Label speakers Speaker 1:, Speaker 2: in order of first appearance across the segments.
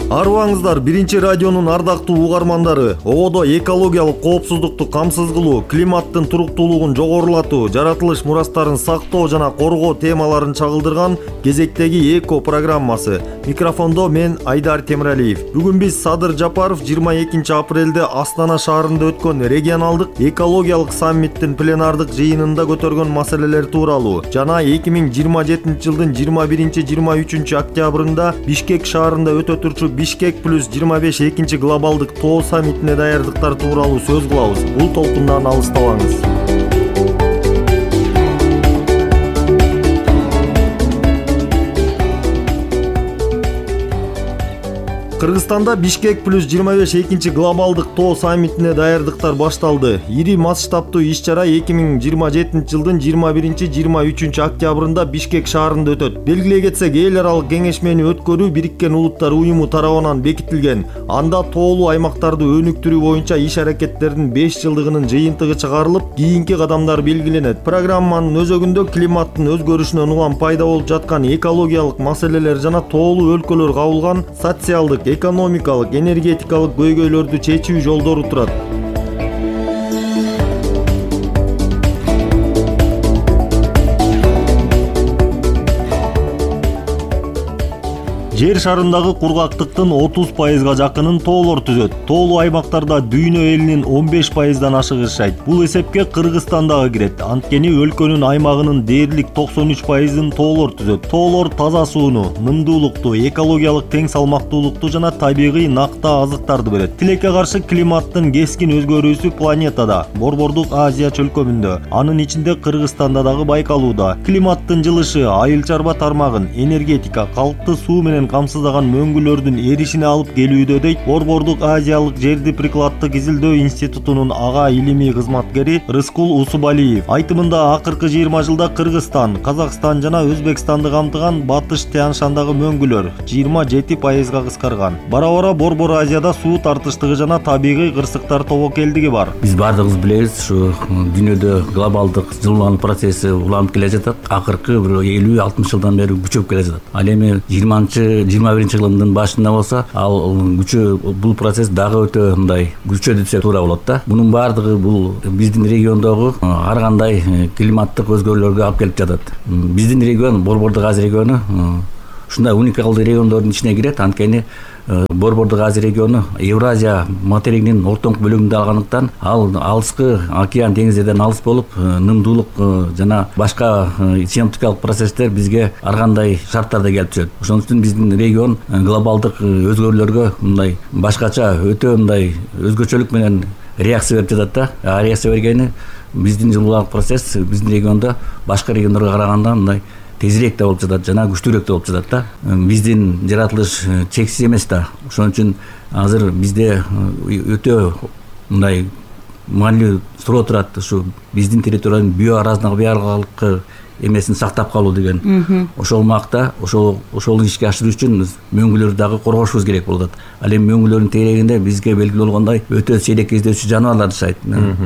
Speaker 1: Арыбаңыздар, биринчи радионун ардактуу угармандары. Ободо экологиялык коопсуздукту камсыз кылуу, климаттын туруктуулугун жогорулатуу, жаратылыш мурастарын сактоо жана коргоо темаларын чагылдырган кезектеги эко программасы. Микрофондо мен Айдар Темиралиев. Бүгүн биз Садыр Жапаров 22 апрелде Астана шаарында өткөн регионалдык экологиялык саммиттин пленардык жыйынында көтөргөн маселелер тууралуу жана 2027 жылдын 21-23 октябрында Бишкек шаарында өтө турчу Бишкек плюс 25 экинчи глобалдык тоо саммитине даярдыктар тууралуу сөз кылабыз. Бул толкундан алыстабаңыз. Кыргызстанда Бишкек плюс 25 экинчи глобалдык тоо саммитине даярдыктар башталды. Ири масштабтуу иш-чара 2027 жылдын 21-23 октябрында Бишкек шаарында өтөт. Белгилей кетсек, эл аралык кеңешмени өткөрүү Бириккен Улуттар уюму тарабынан бекитилген. Анда тоолуу аймактарды өнүктүрүү боюнча иш-аракеттердин 5 жылдыгынын жыйынтыгы чыгарылып, кийинки кадамдар белгиленет. Программанын өзөгүндө климаттын өзгөрүшүнөн улам пайда болуп жаткан экологиялык маселелер жана тоолуу өлкөлөр кабылган социалдык, экономикалык, энергетикалык көйгөйлөрдү чечүү жолдору турат. Жер шарындагы кургактыктын 30%га жакынын тоолор түзөт. Тоолуу аймактарда дүйнө элинин 15%дан ашыгы жашайт. Бул эсепке Кыргызстан дагы кирет. Анткени өлкөнүн аймагынын дээрлик 93%ын тоолор түзөт. Тоолор таза сууну, нымдуулукту, экологиялык тең салмактуулукту жана табигый накта азыктарды берет. Тилекке каршы климаттын кескин өзгөрүүсү планетада, Борбордук Азия чөлкөмүндө, анын ичинде Кыргызстанда дагы байкалууда. Климаттын жылышы айыл чарба тармагын, энергетика, калкты суу менен камсыздаган мөңгүлөрдүн эришине алып келүүдө дейт Борбордук Азиялык жерди прикладдык изилдөө институтунун ага илимий кызматкери Рыскул Усубалиев. Айтымында акыркы 20 жылда Кыргызстан, Казакстан жана Өзбекстанды камтыган Батыш Тянь-Шандагы мөңгүлөр 27%га кыскарган. Бара-бара Борбор Азияда суу тартыштыгы жана табигый кырсыктар тобокелдиги бар.
Speaker 2: Биз бардыгыбыз билебиз, ушу дүйнөдө глобалдык жылуулануу процесси уланып келе жатат. Акыркы 50-60 жылдан бери күчөп келе жатат. Ал эми 21 жылдын башында болсо, ал күчөө бул процесс дагы өтө мындай күчөдү десек туура болот да. Мунун баардыгы бул биздин региондогу ар кандай климаттык өзгөрүүлөргө алып келип жатат. Биздин регион, Борбордук Азия региону ушундай уникалдуу региондордун ичине кирет. Анткени Борбордук Азия региону Евразия материгинин ортоңку бөлүгүндө алгандыктан, ал алыскы океан деңиздерден алыс болуп, нымдуулук жана башка синоптикалык процесстер бизге ар кандай шарттарда келип түшөт. Ошон үчүн биздин регион глобалдык өзгөрүүлөргө мындай башкача, өтө мындай өзгөчөлүк менен реакция берип жатат да. Реакция бергени биздин жылуулануу процесс биздин региондо башка региондорго караганда мындай тезирээк да болуп жатат жана күчтүүрөөк да болуп жатат да. Биздин жаратылыш чексиз эмес да. Ошон үчүн азыр бизде өтө мындай маанилүү суроо турат. Ушу биздин территориянын биоразнообразовалыкты эмесин сактап калуу деген. Ошол макта ошол ишке ашыруу үчүн мөңгүлөрдү дагы коргошубуз керек болуп атат. Ал эми мөңгүлөрдүн тегерегинде бизге белгилүү болгондой өтө сейрек кездешүү жаныбарлар жашайт.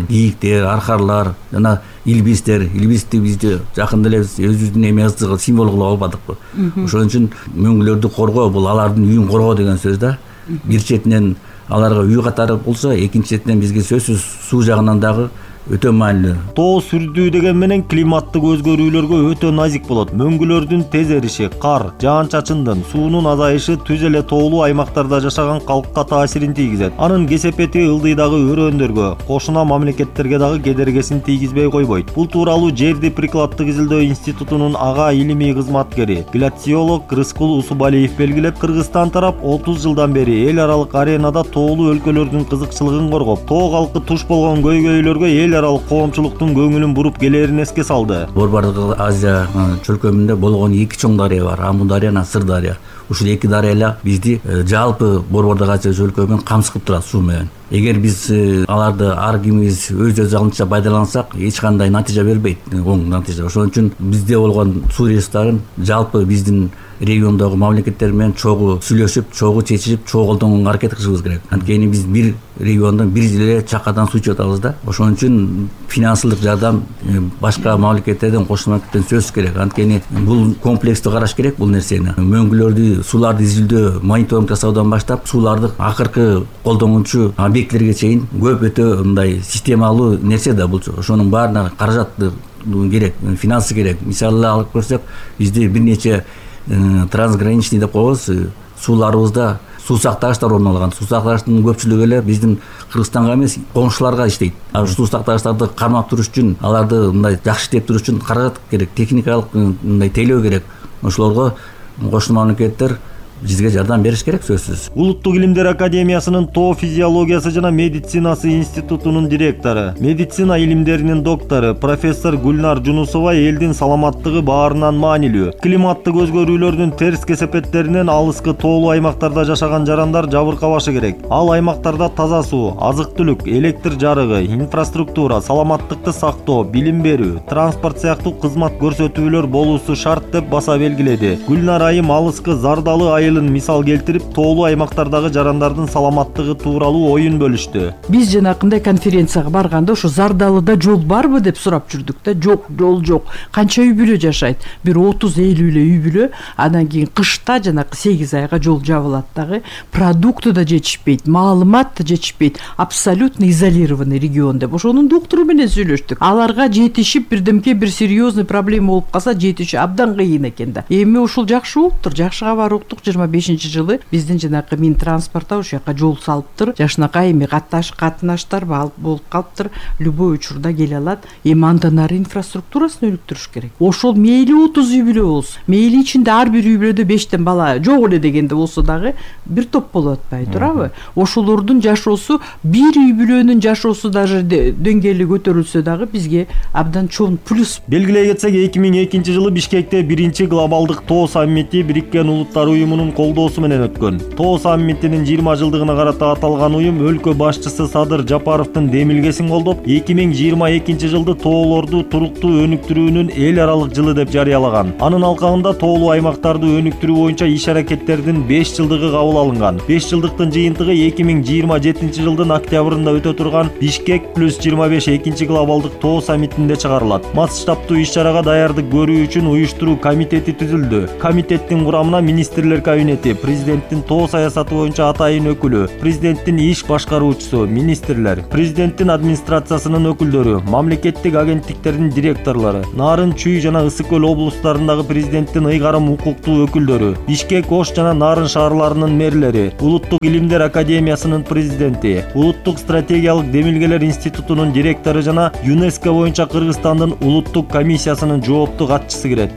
Speaker 2: Кийиктер, аркарлар жана илбистер. Илбисти бизде жакында эле өзүбүздүн эмебиздин символу кылып албадыкпы. Ошон үчүн мөңгүлөрдү коргоо бул алардын үйүн коргоо деген сөз да. Бир четинен аларга үй катары болсо, экинчи четинен бизге сөзсүз суу жагынан дагы өтө маанилүү.
Speaker 1: Тоо сүрдүү деген менен климаттык өзгөрүүлөргө өтө назик болот. Мөңгүлөрдүн тез эриши, кар, жаан-чачындын, суунун азайышы түз эле тоолуу аймактарда жашаган калкка таасирин тийгизет. Анын кесепети ылдыйдагы өрөөндөргө, кошуна мамлекеттерге дагы кедергесин тийгизбей койбойт. Бул тууралуу жерди прикладдык изилдөө институтунун ага илимий кызматкери, гляциолог Рыскул Усубалиев белгилеп, Кыргызстан тарап 30 жылдан бери эл аралык аренада тоолуу өлкөлөрдүн кызыкчылыгын коргоп, тоо калкы туш болгон көйгөйлөргө эл аралык коомчулуктун көңүлүн буруп келерин эске салды.
Speaker 2: Борбордук Азия чөлкөмүндө болгон эки чоң дарыя бар, Аму дарыя жана Сыр дарыя. Ушул эки дарыялар бизди жалпы Борбордук Азия чөлкөмүн камсыз кылып турат суу менен. Эгер биз аларды ар кимибиз өз алынча пайдалансак, эч кандай натыйжа бербейт, оң натыйжа. Ошон үчүн бизде болгон суу ресурстарын жалпы биздин региондогу мамлекеттер менен чогуу сүйлөшүп, чогуу чечишип, чогуу колдонгонго аракет кылышыбыз керек. Анткени биз бир региондон бир эле чакадан суу ичип атабыз да. Ошон үчүн финансылык жардам башка мамлекеттерден, кошмо мамлекеттен сөзсүз керек. Анткени бул комплекстүү караш керек бул нерсени. Мөңгүлөрдү сууларды изилдөө, мониторинг жасаудан баштап сууларды акыркы колдонуучу объектилерге чейин көп өтө мындай системалуу нерсе да бул. Ошонун баарына каражат керек, финансы керек. Мисалы алып көрсөк, бизде бир нече трансграничный деп коебуз, сууларыбызда суу сактагычтар орун алган. Суу сактагычтын көпчүлүгү эле биздин Кыргызстанга эмес, коңшуларга иштейт. Суу сактагычтарды кармап туруш үчүн, аларды мындай жакшы иштеп туруш үчүн каражат керек, техникалык мындай тейлөө керек. Ошолорго кошмо мамлекеттер бизге жардам бериш керек, сөзсүз.
Speaker 1: Улуттук илимдер академиясынын тоо физиологиясы жана медицинасы институтунун директору, медицина илимдеринин доктору профессор Гүлнар Жунусова элдин саламаттыгы баарынан маанилүү. Климаттык өзгөрүүлөрдүн терс кесепеттеринен алыскы тоолуу аймактарда жашаган жарандар жабыркабашы керек. Ал аймактарда таза суу, азык-түлүк, электр жарыгы, инфраструктура, саламаттыкты сактоо, билим берүү, транспорт сыяктуу кызмат көрсөтүүлөр болуусу шарт деп баса белгиледи. Гүлнар айым алыскы Зардалы айылын мисал келтирип, тоолуу аймактардагы жарандардын саламаттыгы тууралуу оюн бөлүштү.
Speaker 3: Биз жанакындай конференцияга барганда ошо Зардалыда жол барбы деп сурап жүрдүк да. Жок, жол жок. Канча үй бүлө жашайт? Бир 30-50 эле үй бүлө. Андан кийин кышта жанакы 8 айга жол жабылат дагы. Продукты да жетишпейт, маалымат да жетишпейт. Абсолютно изолированный регион деп. Ошонун доктору менен сүйлөштүк. Аларга жетишип бирдемке бир серьезный проблема болуп калса жетиши абдан кыйын экен да. Эми ушул жакшы болуптур. Жакшы кабар уктук. 25-жылы биздин жанакы Минтранспортта ошол жака жол салыптыр. Жакшынакай эми катнаштар болуп калыптыр. Любой учурда келе алат. Эми андан ары инфраструктурасын өнүктүрүш керек. Ошол мейли 30 үй бүлө болсун. Мейли ичинде ар бир үй бүлөдө 5тен бала жок эле дегенде болсо дагы бир топ болуп атпай турабы? Ошолордун жашоосу, бир үй бүлөнүн жашоосу даже деңгээли көтөрүлсө дагы бизге абдан чоң плюс.
Speaker 1: Белгилей кетсек, 2002-жылы Бишкекте биринчи глобалдык тоо саммити Бириккен Улуттар уюмунун колдоосу менен өткөн. Тоо саммитинин 20 жылдыгына карата аталган уюм өлкө башчысы Садыр Жапаровдун демилгесин колдоп, 2022-жылды тоолорду туруктуу өнүктүрүүнүн эл аралык жылы деп жарыялаган. Анын алкагында тоолуу аймактарды өнүктүрүү боюнча иш-аракеттердин 5 жылдыгы кабыл алынган. 5 жылдыктын жыйынтыгы 2027-жылдын октябрында өтө турган Бишкек плюс 25 экинчи глобалдык тоо саммитинде чыгарылат. Масштабтуу иш-чарага даярдык көрүү үчүн уюштуруу комитети түзүлдү. Комитеттин курамына министрлер кабинети, президенттин тоо саясаты боюнча атайын өкүлү, президенттин иш башкаруучусу, министрлер, президенттин администрациясынын өкүлдөрү, мамлекеттик агенттиктердин директорлору, Нарын, Чүй жана Ысык көл облустарындагы президенттин ыйгарым укуктуу өкүлдөрү, Бишкек, Ош жана Нарын шаарларынын мэрлери, Улуттук илимдер академиясынын президенти, Улуттук стратегиялык демилгелер институтунун директору жана ЮНЕСКО боюнча Кыргызстандын улуттук комиссиясынын жоопту катчысы кирет.